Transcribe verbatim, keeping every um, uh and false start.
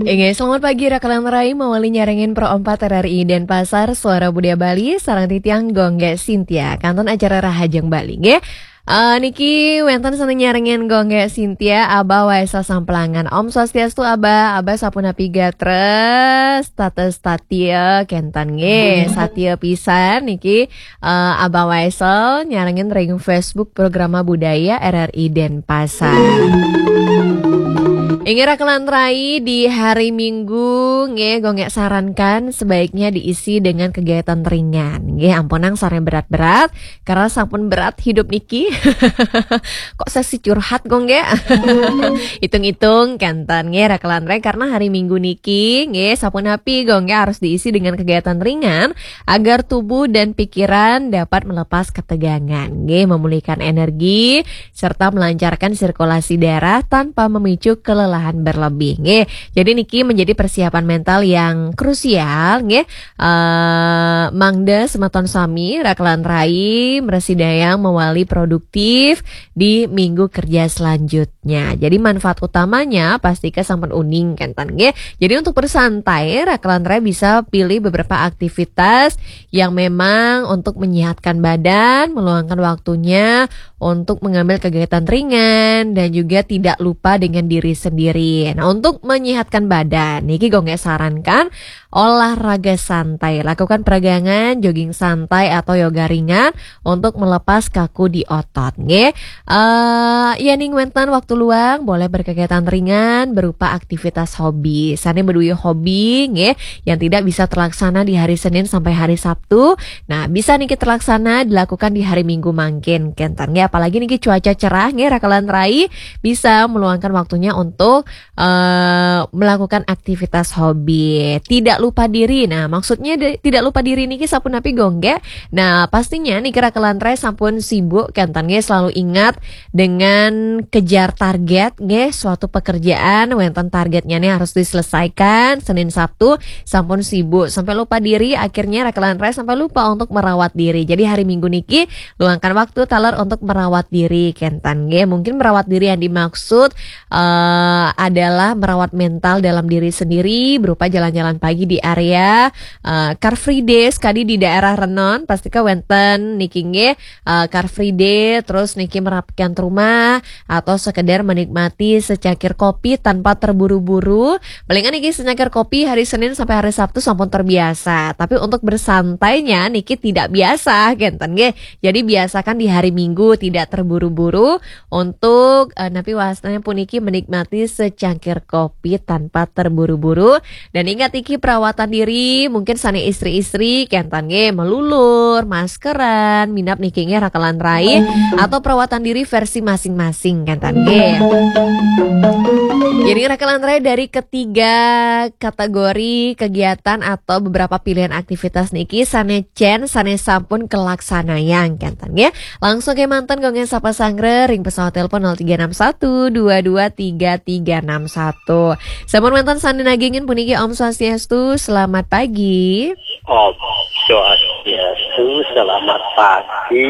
Inggih, selamat pagi, Raka lan Rai, mawali nyarengin Pro empat R R I Denpasar, Suara Budaya Bali, sareng titiang Gung Gé Sintia, kantun acara Rahajeng Bali, nggih. Eh, niki wénten sané nyarengin Gung Gé Sintia, Abah Waisel Samplangan. Om Swastiastu, Abah. Abah sapunapi gatra, status satia kénten nggih. Satia pisan niki, eh, Abah Waisel nyarengin ring Facebook Programa Budaya R R I Denpasar. Inggih, Raka lan Rai, di hari Minggu nggih, Gung Gé sarankan sebaiknya diisi dengan kegiatan ringan nggih, ampunang sané berat-berat, karena sampun berat hidup niki. Kok sesi curhat, Gung Gé? Hitung-hitung kénten nggih, Raka lan Rai, karena hari Minggu niki nggih, sapunapi Gung Gé harus diisi dengan kegiatan ringan agar tubuh dan pikiran dapat melepas ketegangan nggih, memulihkan energi serta melancarkan sirkulasi darah tanpa memicu kelelahan berlebih nggih. Jadi niki menjadi persiapan mental yang krusial nggih. Eh, mangda semeton sami, Raka lan Rai, mrasidayang mawali produktif di minggu kerja selanjutnya. Jadi manfaat utamanya pastika sampun uning kénten nggih. Jadi untuk bersantai, Raka lan Rai bisa pilih beberapa aktivitas yang memang untuk menyehatkan badan, meluangkan waktunya untuk mengambil kegiatan ringan dan juga tidak lupa dengan diri sendiri. Nah, untuk menyehatkan badan, niki Gung Gé sarankan olahraga santai, lakukan peregangan, jogging santai atau yoga ringan untuk melepas kaku di otot, nggih. Eh, yéning wénten waktu luang, boleh berkegiatan ringan berupa aktivitas hobi. Sané madué hobi, nggih, yang tidak bisa terlaksana di hari Senin sampai hari Sabtu, nah, bisa niki terlaksana dilakukan di hari Minggu mangkin kénten nggih. Apalagi niki cuaca cerah nggih, Raka lan Rai, bisa meluangkan waktunya untuk eh, melakukan aktivitas hobi. Tidak lupa diri. Nah, maksudnya de- tidak lupa diri niki sapunapi, Gung Gé? Nah, pastinya niki, Raka lan Rai, sampun sibuk kénten nggih, selalu ingat dengan kejar target nggih, suatu pekerjaan wénten targetnya nih harus diselesaikan Senin Sabtu, sampun sibuk sampai lupa diri, akhirnya Raka lan Rai sampai lupa untuk merawat diri. Jadi hari Minggu niki luangkan waktu taler untuk merawat diri kénten nggih. Mungkin merawat diri yang dimaksud eh, adalah merawat mental dalam diri sendiri berupa jalan-jalan pagi di area eh, Car Free Day, sekadi di daerah Renon, pastika wénten niki nggih, eh, Car Free Day, terus niki merapikan rumah atau sekedar menikmati secangkir kopi tanpa terburu-buru. Palingan niki secangkir kopi hari Senin sampai hari Sabtu sampun terbiasa, tapi untuk bersantainya niki tidak biasa kénten nggih. Jadi biasakan di hari Minggu tidak terburu-buru untuk eh, napi wastanya puniki menikmati secangkir kopi tanpa terburu-buru. Dan ingat niki, perawatan diri mungkin sané istri-istri kénten nggih, melulur, maskeran, minab niki nggih, Raka lan Rai, atau perawatan diri versi masing-masing kénten nggih. Jadi, Raka lan Rai, dari ketiga kategori kegiatan atau beberapa pilihan aktivitas niki, sané cén, sané sampun kalaksanayang kénten nggih. Langsung kémanten Gung Gé sapa sanggra ring pesawat telepon nol tiga enam satu dua dua tiga tiga enam satu. Sampun wénten sané nagingin puniki, Om Swastiastu, selamat pagi. Om Swastiastu, selamat pagi.